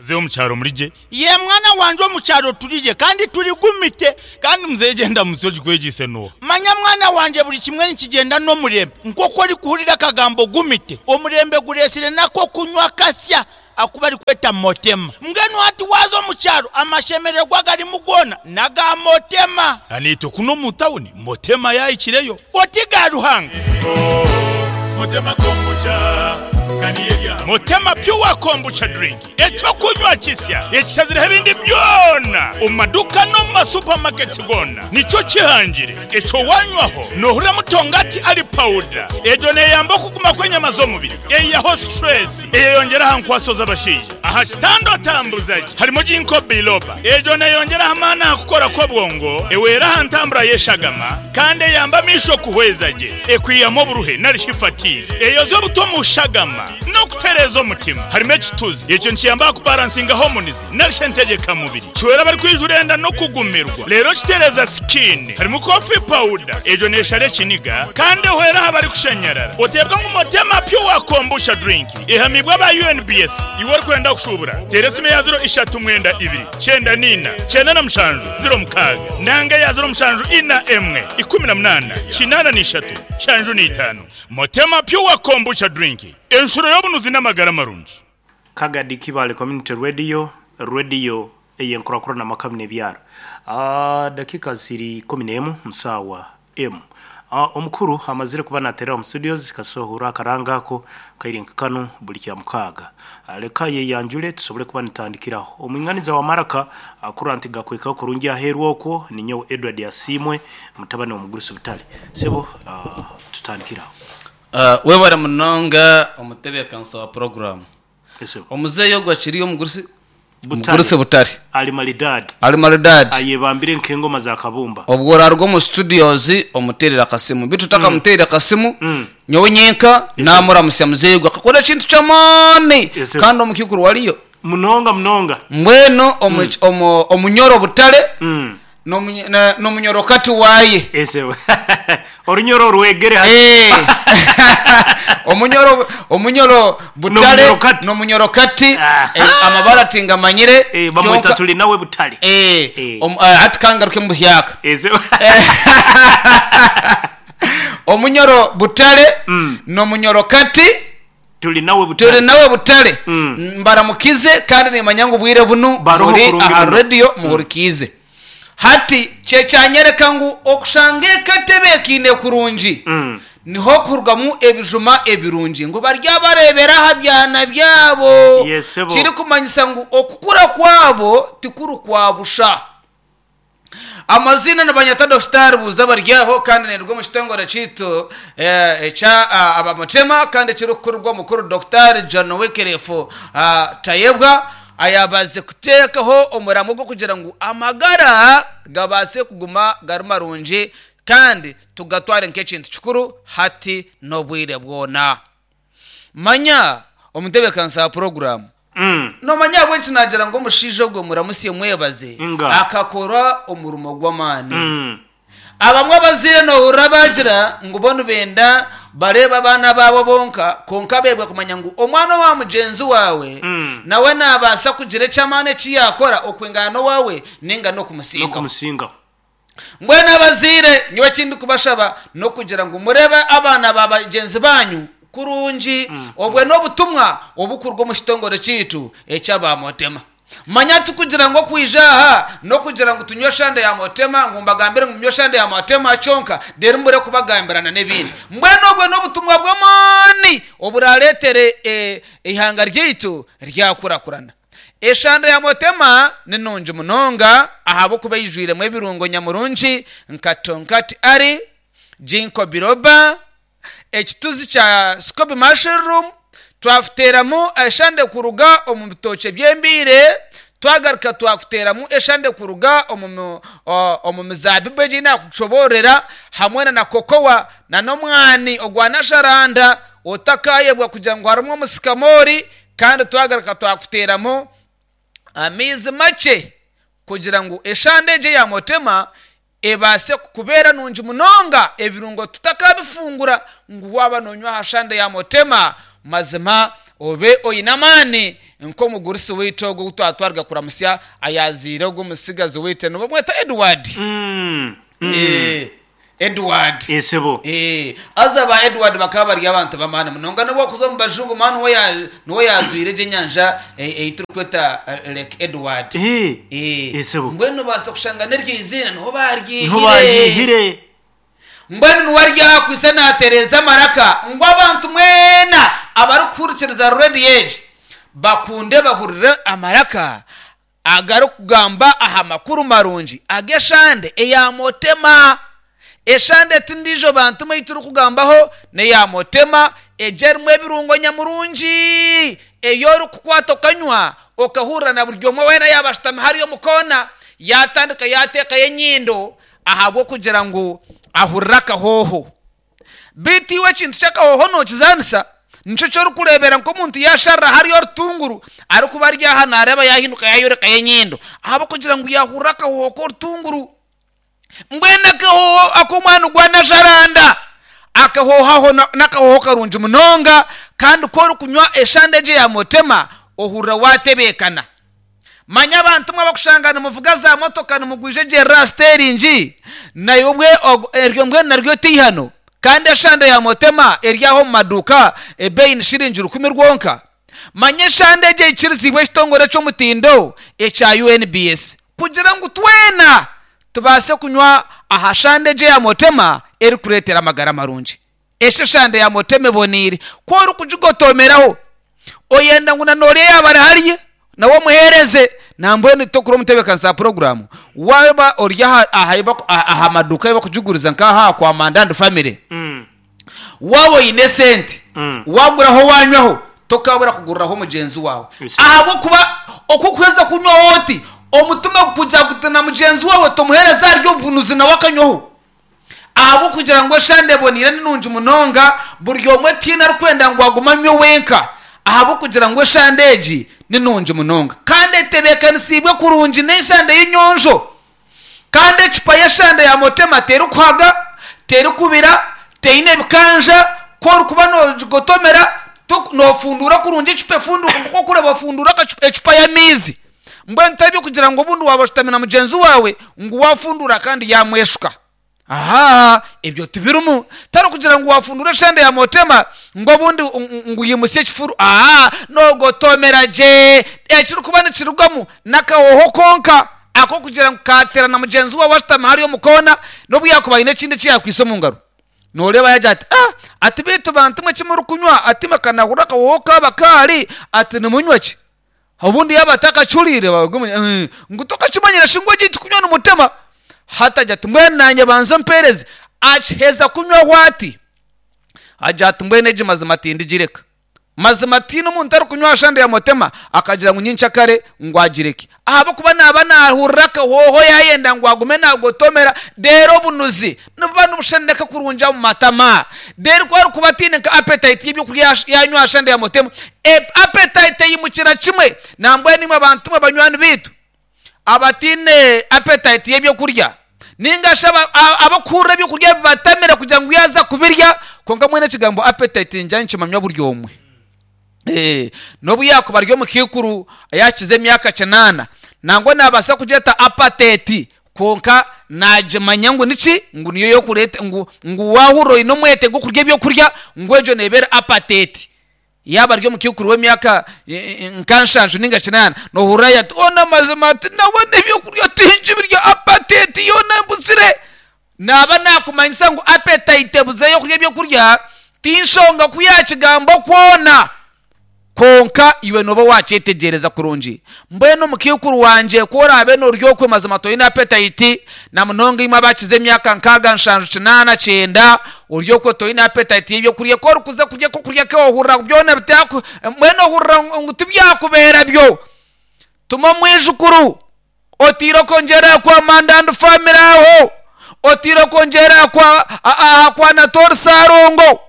Muzeeyi omu kyaro muri gye? Yee mwana wangye omu kyaro turi gye kandi turi gumite. Kandi muzeeyi egyo endamutsyo ogikwegyeise n'oha? Manya mwana wangye buri kimwe nikigyenda n'omurembe. Nk'oku orikuhurira akagambo gumite, omurembe gureetsire n'ak'okunywa kasya aku barikweta Motema. Mbwenu hati waaza omu kyaro amashemererwa agarimu goona n'aga Motema. Naitwe kunu omu tawuni Motema yaahikireyo. Oti ga Ruhanga. Motema Pure Kombucha Drink, eky'okunywa kisya ekishazireho ebindi byona omu maduuka n'omu ma supermarkets goona. Nikyo kihangire ekyo wanywaho nohuriramu tongati ari powder. Egyo neyamba okuguma kw'enyama z'omubiri, eyihaho stress, eyeyongyera aha nkwaso z'abashaija. Aha kitanda otambuza gye harimu Ginkgo biloba. Egyo neyongyera aha maani aha kukora kw'obwongo, ehwera aha ntambura y'eshagama kandi eyamba amaisho kuhweza gye. Ekwihamu oburuhe nari shi fatigue. Eyoza obuta omu shagama n'okutereeza omutima. Harimu ekituzi. Ekyo nikiyamba aha kubaransinga hormones nari shi entegyeka mubiri. Kihwera abarikwijura enda n'okugumirwa. Reero kitereeza skin. Harimu coffee powder. Egyo neeshara ekiniga kandi ehwera aha barikushanyarara. Oteebwa ngu Motema Pure Kombucha Drink ehamiibwe aba UNBS. Iwe orikwenda kushuubura, teera esimu eya ziro ishatu mwenda ibiri, kyenda n'ina, kyenda na mushanju, ziro mukaaga, nanga eya ziro mushanju ina emwe, ikumi na munaana, kinaana na ishatu, nshanju na itaano. Motema Pure Kombucha Drink, enshuro y'obunuzi n'amagara marungi. Kagadi Kibaale Community Radio, rediyo ey'enkurakurana amaka n'ebyaro. Dakiika ziri 11 mu saawa emu. Omukuru amazire kuba naterera omu studios kasita ohurra akaranga ako kaire nka kanu buri Kyamukaaga. Leka ayeyanjure tusobole kuba nitandikiraho. Omwinganiza wa maraka akurora nti gakwikaho kurungi aheeru okwo ninyowe Edward Asiimwe mutabani w'omugurusi Butare. Sebo tutandikire aho. Webare munonga omutebeekanisa wa puroguraamu. Esebo. Omuzeeyi ogu akiri omugurusi Butare. Omugurusi Butare. Ali maridadi. Ali maridadi. Ayebambire nk'engoma za kabumba. Obwo oraruga omu studios omuteerere akasimu. Beitu otakamuteereire akasimu, nyowe nyenka naamuramutsya muzeeyi ogu akakora ekintu ky'amaani Esebo. kandi omukaikuru wariyo. Munonga munonga. Mbwenu omu, omu, omunyoro Butare n'omunyorokati waaye. Esebo. Orunyoro orwegere hati. Eh. Omunyoro omunyoro Butare N'omunyorokati. n'omunyorokati Ah. eh, amabara tingamanyire Eh, bamweta kyonka- tuli nawe Butare. Eh, Eh. hati kangaruke mubuhyaka. Esebo. Omunyoro Butare n'omunyorokati Turi nawe Butare. Turi nawe Butare. Mbaramukize kandi nimanya ngu obwire bunu Baroho muri kurungi aha muno. radio muhurikiize. Hati kyekyanyereka ngu okushanga eka etebeekaine kurungi niho kurugamu ebijuma ebirungi ngu baryabareebera aha byana byabo. Yes, sebo. Kirikumanyisa ngu okukura kwabo tikuri kwa busha. Amaziina nibanyeta Dokita Rubuuza Baryaho kandi ninduga omu kitongore kyaitu ekya Abamutema kandi ekirikukurirwa omukuru Dokita John Wycliffe Tayebwa ayaabaasize kuteekaho omuramwa ogw'okugira ngu amagara gabaase kuguma gari marungi kandi tugatware nk'ekintu kikuru hati n'obwire bwona. Manya omutebeekanisa wa puroguraamu. Noomanya ahabw'enki naagira ngu omushaija ogwo muramutsye mwebaze? Inga. Akakora omurimo gw'amaani. Abamwe abazaire noohurira baagira ngu bo nibenda bareebe abaana baabo bonka, kwonka beebwa kumanya ngu omwana owa mugyenzi waawe nawe naabaasa kugira eky'amaani eki yaakora okwingana n'owaawe nainga n'okumusingaho. N'okumusingaho. Mbwenu abazaire, nyowe eki ndikubashaba n'okugira ngu mureebe abaana ba bagyenzi baanyu kurungi. Obwe n'obutumwa obukuruga omu kitongore kyaitu eky'aba Motema. Manya tikugira ngu okwija aha n'okugira ngu tunywe eshande ya Motema, ngu mbagambire ngu munywe eshande ya Motema kyonka, reero mbure kubagambira na n'ebindi. Mbwenu obwe n'obutumwa bw'amaani oburaareetere eihanga ryaitu ryakurakurana. Eshanda ya Motema ni nungi munonga ahabw'okuba eijwiremu ebirungo nyamurungi nka Tonkat Ali, Ginkgo biloba, ekituzi kya Scoby mushroom, twakuteeramu eshande kuruga omu bitookye by'embiire, twagaruka twakuteeramu eshande kuruga omu mizaabibu egi ei naakushoboororera hamwe na kokowa n'omwani ogwa nasharanda otakaayebwa kugira ngu harimu omusikamoori Kandi twagaruka twakuteeramu amaizi makye kugira ngu eshande egyo eya Motema ebaase kukubeera nungi munonga, ebirungo tutakabifungura ngu waaba noonywa aha shande ya Motema mazima obe oine amaani nk'omugurusi waitu ogwo ou twatwariga kuramutsya ayaazaire ogwo mutsigazi waitu nibamweta Edward. Edward. Ee sebo. Ee, haza ba Edward bakaba bari abantu b'amaani munonga n'obu wakuza omu bajungu mani niwe ya- niwe yaazwire egyo enyanja e- ei turikweta eh, Lake Edward. Ee, Ee, ee sebo. mbwenu nobaasa kushanga n'eryo iziina niho Niho baaryihire. baryihire. Mbwenu niwe ari aha kwitse naatereeza amaraka ngu abantu mwena abarikuhurikiriza rediyo egi bakunde bahurire amaraka agarikugamba aha makuru marungi ag'eshande eya Motema. Eshande ti ndiijo bantu mwe ei turikugambaho n'eya Motema egyo erimu ebirungo nyamurungi ei orikukwata okanywa okahurira na buri omwe weena yaaba ashutami hariya omu koona yaatandika yaateekayo enyindo ahabw'okugira ngu ahurire akahooho. Beitu iwe ekintu ky'akahooho nookizaanisa? Nikyo eki orikureebera nk'omuntu yaasharira hariya orutunguru, arikuba ari aha naareeba yaahinduka yaayorekayo enyindo ahabw'okugira ngu yaahurira akahooho k'orutunguru. Mbwenu akahooho ak'omwana gwa Najaranda, akahooho aho n'akahooho karungi munonga kandi ku orikunywa eshande egyo eya Motema ohurira waatebeekana. Manya abantu mwe abakushanga nimuvuga za motoka nimugwija egyerera aha siteringi, naiwe obwe eryo mbwenu naryo teihano kandi eshande ya Motema eri aho omu maduuka ebeeyi ni shiringi rukumi rwonka. Manya eshande egyo eikiriziibwe ekitongore eky'omutindo ekya UNBS kugira ngu twena tubaase kunywa aha shande egyo eya Motema erikureetera amagara marungi. Esho eshande ya Motema eboneire ku orikugigotomeraho oyenda ngu na n'oriya yaaba ari hariya nawe omuheereze. Nambwenu tokura omutebeekanisa wa puroguraamu waaba ori aha aha maduuka ahu barikugiguriza nk'aha kwa Manda and Family. Waaba oine esente waaguraho waanywaho tokaabura kuguriraho mugyenzi waawe ahabw'okuba oku orikuheza kunywaho oti omutima gukugira guti na mugyenzi waawe tomuheereza ahari obunuzi nawe akanywaho. Ahabw'okugira ngu eshande eboneire ni nungi munonga, buri omwe tihaine arikwenda ngu agume anywe wenka ahabw'okugira ngu eshande egi ni nungi munonga kandi etebeekanisiibwe kurungi n'eshande y'enyonjo. Kandi ecupa y'eshande ya Motema terikuhaga, terikubira, teine bikanja, ku orikuba noogigotomera noofunduura kurungi ecupa efunduuka nk'oku orikureeba ofunduura ecupa y'amaizi. Mbwenu tari by'okugira ngu obundi waaba oshutami na mugyenzi waawe ngu waafunduura kandi yaamweshuka. Ahaa, ebyo tibirimu. Tari kugira ngu waafunduura eshande ya Motema ngu obundi ngu oyimutsye ekifuru. Ahaa, noogotomera gye. Ekirikuba nikirugamu n'akahooho konka ak'okugira ngu kaateera na mugyenzi waawe ashutami hariya omu koona n'obu yaakuba aine ekindi eki yaakwitse omu ngaro. Nooreeba yaagira ati, Ah! Ati beitu bantu mwe eki murikunywa? Ati imwe ka naahurira akahooho kaaba kaari, ati nimunywa ki? Obundi yaaba atakakihuriire bagumya ngu tokakimanyire shi ngu egi tikunywa nimutema. Hati agira ati mbwenu naanye banza ompeereze. Akiheza kunywaho ati, agira ati mbwenu egi mazima tindigireka. Mazima tihaine omuntu arikunywa aha shande ya mutema akagira ngu nyenkyakare ngu agireke. Ahabw'okuba naaba naahurira akahooho yaayenda ngu agume naagotomera, reero obunuzi nibuba nibusheneneka kurungi omu matama. Reero ku arikuba ataine nka appetite y'eby'okurya yaanywa aha shande ya mutema, appetite eyimukira kimwe. Nambwenu imwe bantu mwe banywani baitu abataine appetite y'eby'okurya, nainga shi abarikuhurira eby'okurya bibatamire kugira ngu yaaza kubirya, kwonka mbwenu ekigambo appetite niingira nikimanywa buri omwe. N'obu yaakuba ari omukaikuru yaakiza emyaka kinaana, nangwa naabaasa kugyeta apateti kwonka naagimanya ngu niki? Ngu niyo y'okureeta ngu ngu waahurira oine omwete gw'okurya ebyokurya ngu egyo neeba eri apateti. Yaaba ari omukaikuru w'emyaka nka nshanju nainga kinaana, noohurira yaagira ati, Hoona amazima ati nabona ebyokurya tingibirya apateti yoona embuzire. Naaba naakumanyisa ngu appetite ebuze y'okurya ebyokurya ti nshonga ku yaakigamba kwona, kwonka iwe nooba waakyetegyereza kurungi. Mbwenu mukaikuru wangye ku oraabe noorya okwe mazima toine appetite, na munonga imwe abakize emyaka nkaaga, nshanju, kinaana, kyenda, ori okwe toine appetite y'ebyokurya. Ku orikuza kurya akokurya ke ohurira byona bitaaku, mbwenu ohurira ngu tibyakubeera byo. Tuma omwijukuru. Otaire okongyera kwa Mandandi Family aho, otaire okongyera kwa aha kwa Natori Sarongo,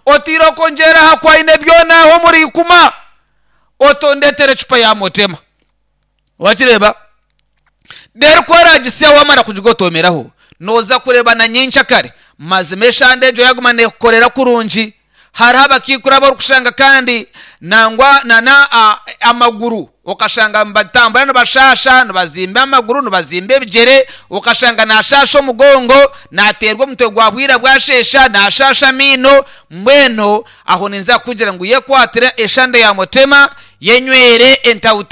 otaire okongyera aha kwa Ainebyona aho omuri Ikuma, otondetere ecupa ya Motema. Wakireeba? Reero ku oragisya wamara kugigotomeraho, nooza kureeba na nyencakare mazima eshande egyo yaguma neekukorera kurungi. Hariho abakaikuru abu orikushanga kandi nangwa na amaguru okashanga nibatambura nibashaasha, nibazimba amaguru, nibazimba ebigyere, okashanga naashaasha omugongo, naateerwa omutwe gwa bwira bwasheesha, naashaasha amaino. Mbwenu aho ninza kukugira ngu yekwatire eshande ya Mutema, yenywere entawuta.